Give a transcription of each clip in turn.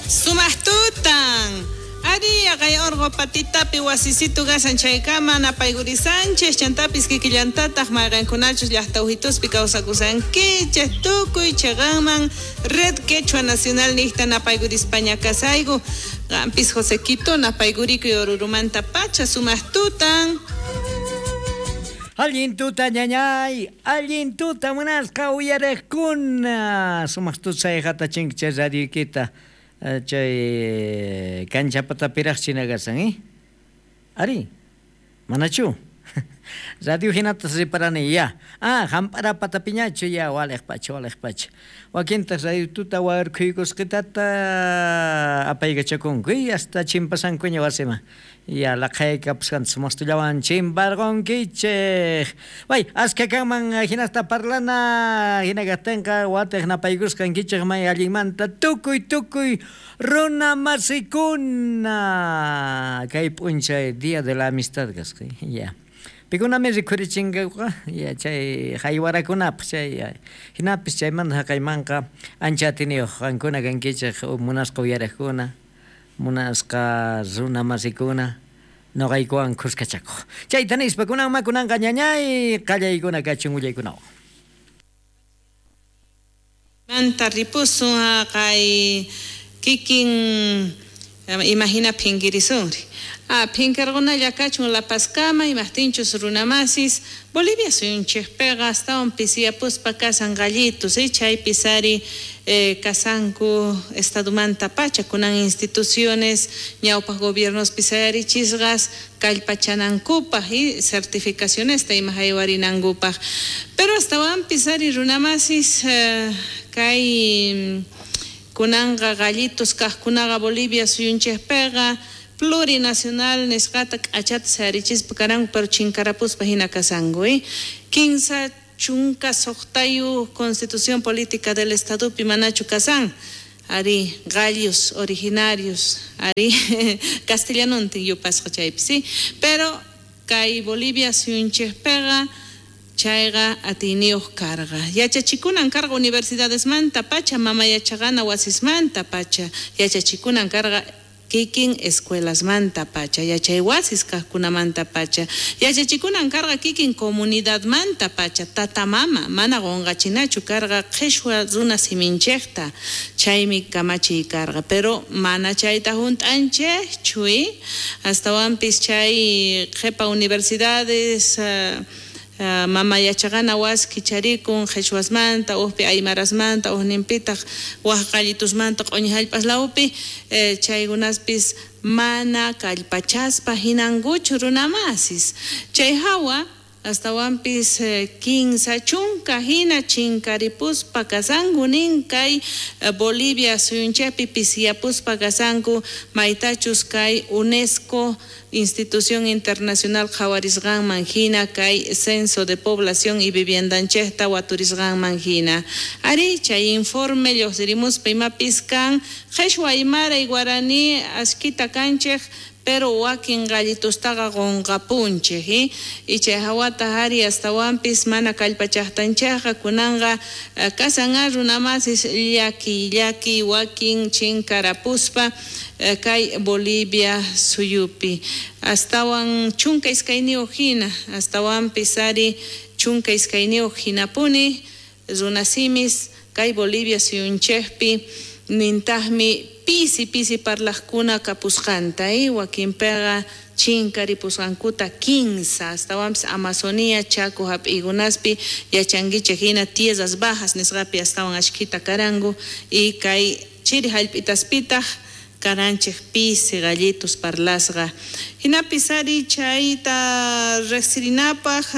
Sumaq tutan. Ari, haqay orqo patitapi wasisitu kashan chaykama napaykurisanchej, chantapis kikillantataq mayqenkunachus llaqta ujituspi kawsakusankichej tukuy cheqanman Red Quechua Nacional niqta napaykurispaña kasayku. Qampis Josequito napaykurikuy Orurumanta pacha sumaq tutan. Allin tuta ñañay, allin tuta munasqa uyariqkuna. Sumaq tuta sayqata chinki chay radioykita chay kanchapatapiraq china kasan, eh? Ari, manachu? Radio hinatas riparani ya. Ah, hamp'ara patapiñachu ya waliq pacha, waliq pacha. Wakintaq radio tuta warkhuykusqitata apaykachakunku y hasta chimpasankuña wasiman. Ya laqhaykapusqanta sumastullawan chimparqunkichej. Way, askha kanman hinasta parlana hina kajtinqa watej napaykusqankichej may allinmanta tukuy tukuy runa masikuna. Kay p'unchay Día de la Amistad kasqa. Ya. Pikunami rikhurichinkakuqa ya chay haywarakunapaq chay hinapis chaymanta haqaymanqa ancha atiniyuq qankuna kankichej munasqa uyariqkuna, munasqa runa masikuna noqaykuwan khuskachakuq. Chayta nispa kunanma kunanqa ñañay qallaykuna kachun willaykunawan. Manta ripusun haqay kikin imahina phinkirisunri. Ah, phinkarqunalla kachun La Pazkama, imajtinchus runamasis, Bolivia suyunchejpiqa astawan pisiyapuspa kasan gallitus, chaypis ari kasanku estadomanta pacha kunan instituciones ñawpaq gobiernospi sayarichisqas kallpachanankupaq y certificacionesta ima haywarinankupaq. Pero astawanpis ari runamasis kay kunanqa gallitos kaqkunaqa Bolivia suyunchejpiqa plurinacional nisqata k'achata sayarichispa karanku, pero chinkarapuspa hina kasanku, 36 Constitución Política del Estadopi manachu kasan, ari gallos originarios, ari castellanontin yupasqa chaypi, sí, pero kay Bolivia suyunchejpiqa chayqa atiyniyuq karqa. Yachachikunan karqa universidadesmanta pacha, mama yachaqana wasismanta pacha, yachachikunan karqa kikin escuelasmanta pacha, yachay wasis kaqkunamanta pacha, yachachikunan karqa kikin comunidadmanta pacha, tata mama, mana qunqachinachu karqa qhishwa runa siminchejta, chaymi kamachiy karqa, pero mana chayta hunt'anchejchu, astawanpis chay qhipa universidades mama yachaqana wasi kicharikun qhichwasmanta, ujpi aymarasmanta, ujninpitaq waj qallitusmanta q'uñi jallp'as lawpi, chaykunaspis mana kallpachaspa hinankuchu runamasis. Chay hawa astawanpis 30 hina chinkaripuspa kasanku nin kay Bolivia suyunchaypi pisiyapuspa kasanku maytachus kay UNESCO institución internacional qhawarisqanman hina kay censo de población y viviendanchejta waturisqanman hina. Ari chay informe lluqsirimuspa imapis kan qhishwa aymara y guaraní ashkita kanchej, pero wakin gallitustaqa qunqapunchej, y chay hawata ari astawanpis mana kallpachaqtanchejqa kunanqa kasan runamasis llaki llaki wakin chinkarapuspa kay Bolivia suyupi. Astawan 12 hina, astawanpis ari 12 hinapuni runasimis kay Bolivia suyunchejpi nintaqmi pisi pisi parlaqkuna kapusqanta, wakinpiqa chinkaripusqankuta 15, astawanpis Amazonía, Chaco hap'iykunaspi yachankichej hina tierras bajas nisqapi astawan ashkhita karanku y kay chiri hallp'itaspitaq karanchej pisi gallitos parlasqa. Hinapis ari chayta riqsirinapaq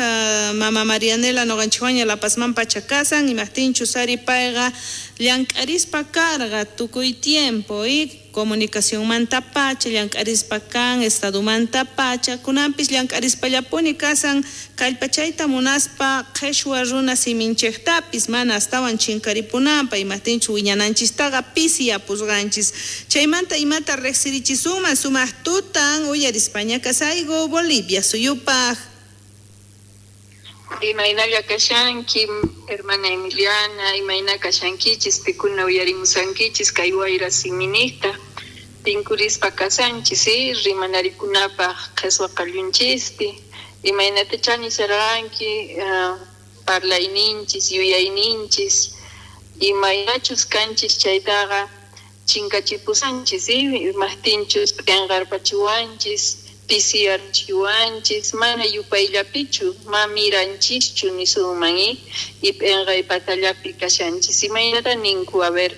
mama Marianela noqanchikwaña La Pazman pacha kasan, imajtinchus ari payqa llank'arispa karqa tukuy tiempo, comunicacionmanta pacha, llank'arispa kan, estadomanta pacha, kunanpis llank'arispallapuni kasan, kallpachayta munaspa qhishwa runa siminchejtapis mana astawan chinkaripunanpa, imajtinchu wiñananchistaqa pisiyapusqanchis. Chaymanta imata riqsirichisunman sumaq tutan uyarispaña kasayku Bolivia suyupaq. Imaynalla kashanki, hermana Emiliana, imayna kashankichis, pikuna uyarimusankichis kay wayra siminista. Tinkurispa kashanchis, rimanarikunapaj qheswa qallunchispi, imaynatachá nisharqanki parlayninchis, yuyayninchis, imaynachus kanchis chaytaqa chinkachipusanchis, imajtinchus p'enqarpachiwanchis, pisiyarchiwanchis, mana yupayllapichu, ma miranchischu nisunman, y p'enqay patallapi kashanchis. Imaynata ninku, a ver,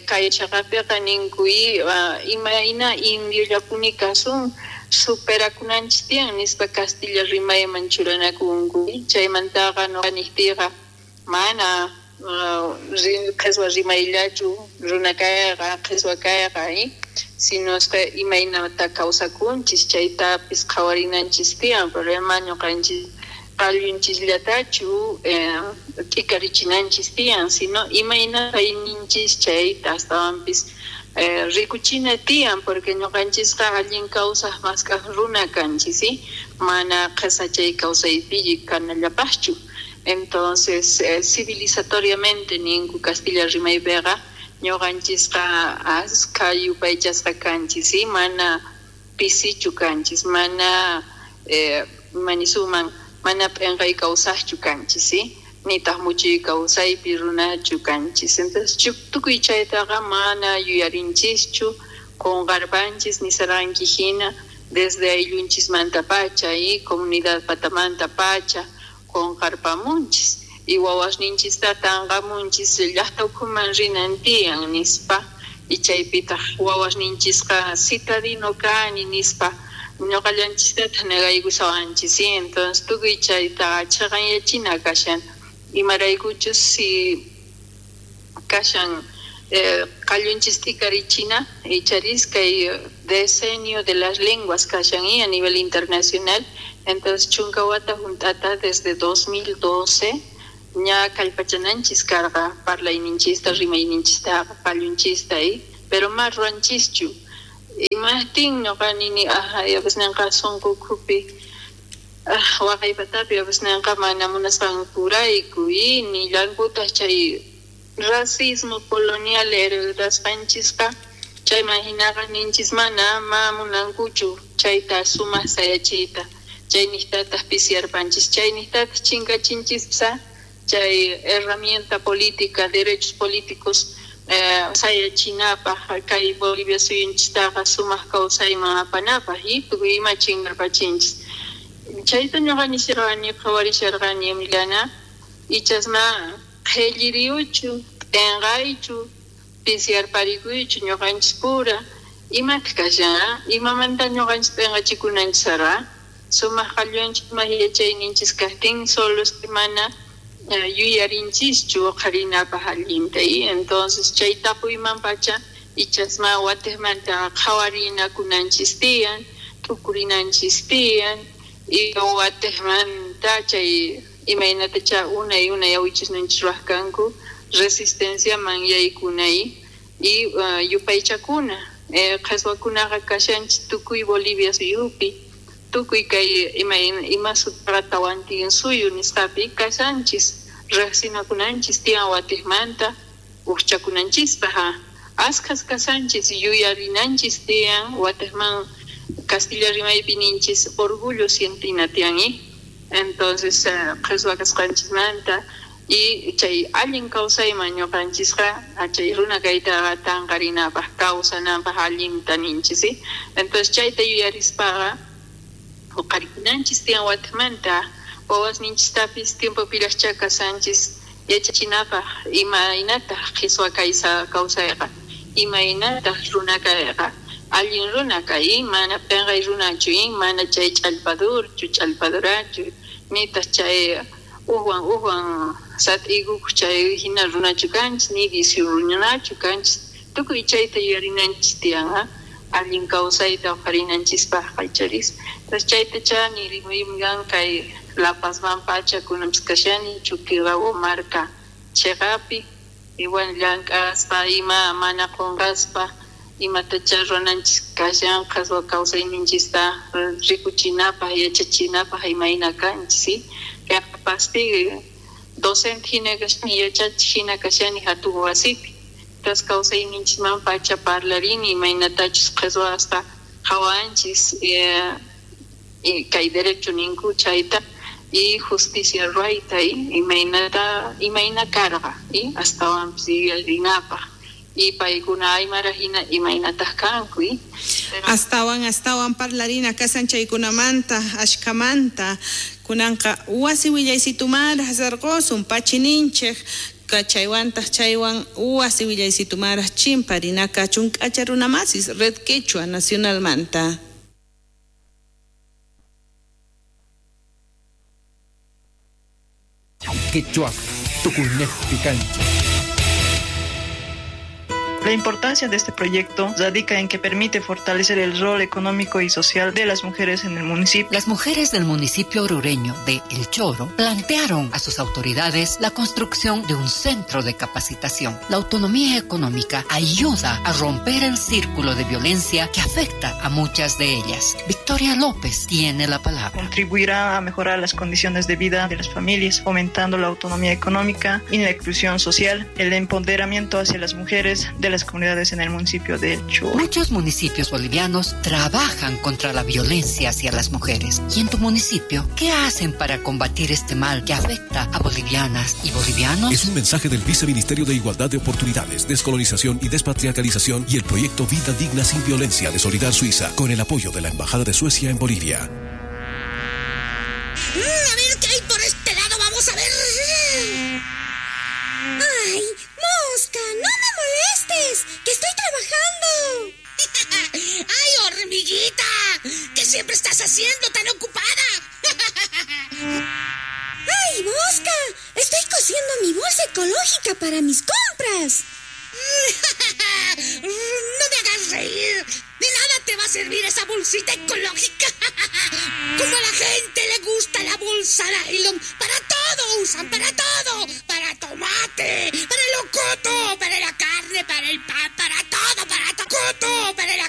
kay chaqapiqa ninku, imayna indiollapuni kasun, superakunanchis tiyan nispa castilla rimayman churanakunku. Chaymantaqa noqa niqtiyqa mana qheswa rimayllachu runa kayqa, qheswa kayqa, sino imaynata kawsakunchis chaytapis qhawarinanchis tiyan, problema ñuqanchis qallunchisllatachu t'ikarichinanchis tiyan, sino imayna kayninchis chayta astawanpis rikuchina tiyan, porque ñuqanchisqa allin kawsaq mask'aq runa kanchis, mana qhesachay kawsaypi kanallapaqchu. Entonces, civilizatoriamente ninku castilla rimaypiqa ñuqanchisqa askha yupaychasqa kanchis, mana pisichu kanchis, mana manisuman mana p'enqay kawsaqchu kanchis, nitaq muchuy kawsaypi runachu kanchis. Entonces, tukuy chaytaqa mana yuyarinchischu, qunqarpanchis nisarqanki hina desde ayllunchismantapacha, comunidad patamantapacha qunqarpamunchis, y wawasninchista tanqamunchis llaqta ukhuman rinan tiyan nispa, y chaypitaq wawasninchisqa citadino kani nispa ñuqallanchistataq negaykusawanchis. Entonces tukuy chaytaqa chhiqanyachina kashan, imaraykuchus si kashan qallunchis t'ikarichina icharis kay decenio de las lenguas kashan a nivel internacional. Entonces chunka wata junt'ata desde 2012 ña kallpachananchis karqa parlayninchista, rimayninchista, qallunchista, pero ma ruwanchischu. Imajtin ñuqa nini yawasnanqa sunqu ukhupi waqaypatapi yawasnanqa mana munasqankurayku, nillankutaq chay racismo colonial heredasqanchisqa, chayman hinaqa ninchis mana ma munankuchu chayta sumaq sayachiyta, chayniqtataq pisiyarpanchis, chayniqtataq chinkachinchispsa chay herramienta política, derechos políticos sayachinapaj kay Bolivia suyunchistaqa sumaq kawsayman apanapaj, tukuy ima chinkarpachinchis. Chayta ñuqa nisharqani, qhawarisharqani Emiliana, ichasma qhelliriyuchu, p'enqaychu, pisiyarparikuychu ñuqanchis pura, imataq kashan, imamanta ñuqanchis p'enqachikunanchis sarqa, sumaq qallunchis, sumaq yachayninchis kaqtin, solo mana yuyarinchischu uqharinapaj allinta. Entonces chay tapuyman pacha ichasma watiqmanta qhawarinakunanchis tiyan, t'ukurinanchis tiyan, y watiqmanta chay imaynatacha unay unay awichisninchis ruwaq kanku resistenciaman yaykunay y yupaychakuna. Qheswakunaqa kashanchis tukuy Bolivia suyupi, tukuy kay ima sutqa tawantin suyu nisqapi kashanchis, riqsinakunanchis tiyan watiqmanta ujchakunanchispaj, askhas kashanchis, yuyarinanchis tiyan watiqman castilla rimaypi ninchis orgullo sientina tiyan, entonces qheswa kasqanchismanta y chay allin kawsayman ñuqanchisqa chay runa kaytaqa tanqarinapaj kawsanapaj allinta ninchis. Entonces chayta yuyarispaqa uqharikunanchis tiyan watiqmanta wawasninchistapis tiempopiraqchá kashanchis yachachinapaj imaynataq qheswa kawsayqa, imaynataq runa kayqa, allin runa kay, mana p'enqay runachu, mana chay ch'allpadurchu, ch'allpadurachu, nitaq chay ujwan ujwan sat'ikuq chay hina runachu kanchis, ni vicio runachu kanchis, tukuy chayta yuyarinanchis tiyan, allin kawsayta uqharinanchispajqa icharis. Entonces chaytacha nirimuyman kay La Pazman pacha kunanpis kashani Chuquirawo marka chhiqapi, igual llank'aspa ima mana qunqaspa imatacha ruwananchis kashan qheswa kawsayninchista rikuchinapaj, yachachinapaj imayna kanchis. Kay Paspi docente hina kashani, yachachiq hina kashani hatun wasipi. Entonces kawsayninchisman pacha parlarini imaynatachus qheswasta qhawanchis kay derecho ninku chayta y justicia ruwayta imaynata imayna karqa astawanpis yuyarinapaq y paykuna aymara hina imaynataq kanku. Astawan parlarina kasan chaykunamanta ashkamanta kunanqa wasi willaysitumara sarqosun pachininchej chaywantaq chaywan wasi willaysitumara chimparina kachun k'acha runamasis Red Quechua Nacionalmanta. Quechua tukuynejpi kanchik. La importancia de este proyecto radica en que permite fortalecer el rol económico y social de las mujeres en el municipio. Las mujeres del municipio orureño de El Choro plantearon a sus autoridades la construcción de un centro de capacitación. La autonomía económica ayuda a romper el círculo de violencia que afecta a muchas de ellas. Victoria López tiene la palabra. Contribuirá a mejorar las condiciones de vida de las familias, fomentando la autonomía económica y la inclusión social, el empoderamiento hacia las mujeres de las comunidades en el municipio de El Choro. Muchos municipios bolivianos trabajan contra la violencia hacia las mujeres. ¿Y en tu municipio qué hacen para combatir este mal que afecta a bolivianas y bolivianos? Es un mensaje del Viceministerio de Igualdad de Oportunidades, Descolonización y Despatriarcalización y el proyecto Vida Digna sin Violencia de Solidar Suiza, con el apoyo de la Embajada de Suecia en Bolivia. A ver qué hay por este lado, vamos a ver. ¡Ay, mosca! ¡No me molestes! ¡Que estoy trabajando! ¡Ay, hormiguita! ¿Qué siempre estás haciendo tan ocupada? ¡Ay, mosca! Estoy cosiendo mi bolsa ecológica para mis compras. ¡No me hagas reír! ¡De nada te va a servir esa bolsita ecológica! Como a la gente le gusta la bolsa nylon, para todo usan, para todo. Para tomate, para el locoto, para la carne, para el pan, para todo, para todo, para la